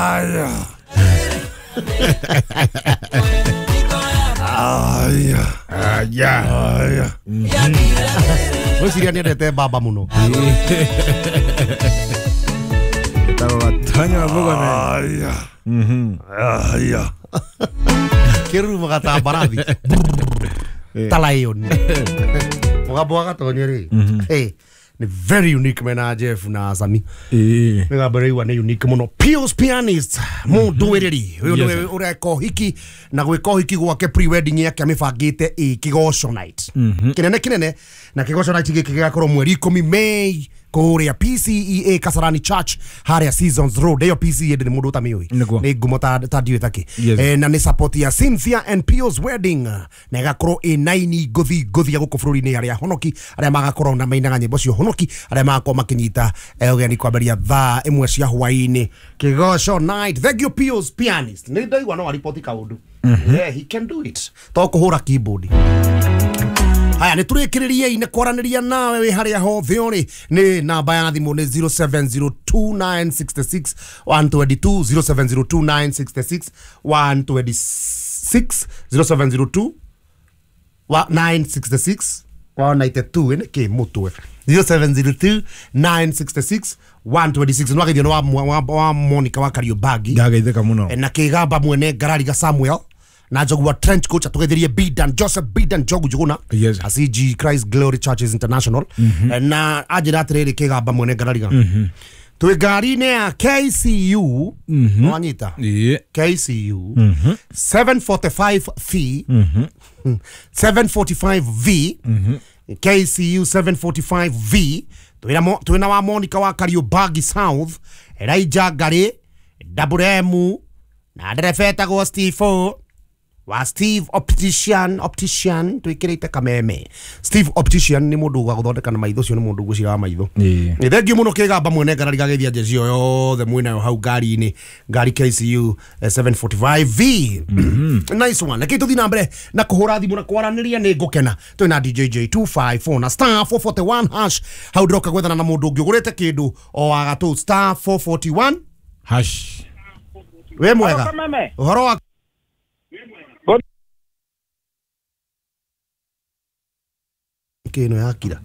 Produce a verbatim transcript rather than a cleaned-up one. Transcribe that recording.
Aya. Aya. Aya. Aya. Gwĩciria nĩendete baba mũno. Etagwo Gatonya wa Bugome. Aya. Aya. Kĩrurumaga ta mbarathi. Ta lion. Mũgambo wa Gatonya rĩ. Eh, nĩ very unique mena Jeff na Sami. Ĩĩ. Mĩgambo ĩraigua nĩ unique mũno. Pius Pianist mũndũĩrĩri ũyũ Yes, nĩwe ũreka ũhiki na gwĩka ũhiki gwake pre-wedding yake amĩbangĩte ĩ kĩgoco night kĩnene kĩnene na kĩgoco night gĩkĩ gĩgakorwo mweri ikũmi May kũrĩa P C E A Kasarani Church harĩa Seasons Road. Ĩyo P C E A ndĩrĩ mũndũ ũtamĩũĩ, Nĩguo. nĩ ngumo ta ta ndiũĩ takĩ. Yes. Eh, na nĩ support ya Cynthia and Pius wedding na ĩgakorwo ĩ naini ngũthi ngũthi ya gũkũ bũrũri-inĩ arĩa honoki arĩa magakorwo na mainaga nyĩmbo cia honoki arĩa magakorwo makĩnyita eh, ũgeni kwambĩrĩria thaa ĩmwe cia hwaĩ-inĩ. Kĩgoco night. Thank you Pius Pianist. Nĩ ndaigua no aripoti kaũndũ. Yeah, he can do it. To kũhũra keyboard. Haya, nĩ tũrĩkĩrĩriei nĩ kwaranĩria nawe wĩ harĩa hothe ũrĩ. Nĩ namba ya thimũ nĩ zero seven zero two nine six six one two two, zero seven zero two nine six six one two six, zero seven zero two nine six six one nine two. Ĩ nĩ kĩ mũtwe? zero seven zero two nine six six one two six. Nĩ wageithio nĩ wa, wa, wa Monica wa Kariobangi. Ndageithĩka mũno. Na kĩgamba mwene Ngarariga Samuel na Njogu wa Trench Coach atugetherie Bidan Joseph Bidan Njogu Njuguna. Yes. A C G Christ Glory Churches International. Mm-hmm. Na anjĩra atĩrĩrĩ kĩgamba mwene Ngarariga. Mm-hmm. Twĩ ngari-inĩ ya K C U. Mm-hmm. Wanyita? Ĩĩ. K C U. Mm-hmm. seven forty-five V. Mm-hmm. seven forty-five V. Mm-hmm. K C U seven forty-five V. Twĩna wa Monica wa Kariobangi South, Elijah Ngari, Double M na ndereba etagwo Steve O wa Steve Optician, Optician twikirite kameme. Steve Optician nĩ mũndũ wa gũthondeka na maitho, ũcio nĩ mũndũ ngwĩciria wa maitho. Ĩĩ. Nĩ thengiũ mũno kĩgamba mwene Ngarariga geithia njeci ĩyo yothe mwĩnayo hau ngari-inĩ, ngari K C U seven forty-five V. Nice one. Reke tũthiĩ na mbere na kũhũra thimũ na kwaranĩria, nĩ ngũkena. Twĩna D J J two five four na star four forty-one hash. Hau ndĩroka gwethana na mũndũ ũngĩ ũgũrĩte kĩndũ o wa gatũ star four forty-one hash. Wĩ mwega? Ũhoro wa kĩno yakira.